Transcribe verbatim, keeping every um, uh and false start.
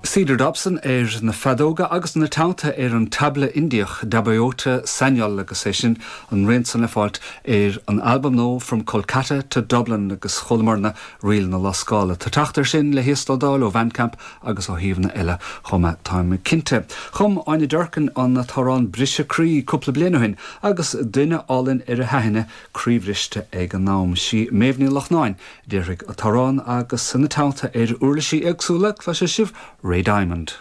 Cedar Dobson ar na feadóga agus ina teannta ar an tabla Indiach Debobrata Sanyal agus é sin an rian san le fáilt ar an albam nua From Kolkata to Dublin agus chualamarna Ríl na Lascála. Tá teacht air sin le híoslódáil ó Bandcamp agus ó shuíomhanna eile chomh maith táim cinnte. Chum Áine Durkin an t-amhrán Briseadh Croí cúpla bliain ó shin agus duine álainn ar a haithne croíbhriste ag an am sí Méabh Ní Lochnáin déirigh an t-amhrán agus ina teannta ar uirlisí éagsúla cloisfidh sibh Ray Diamond.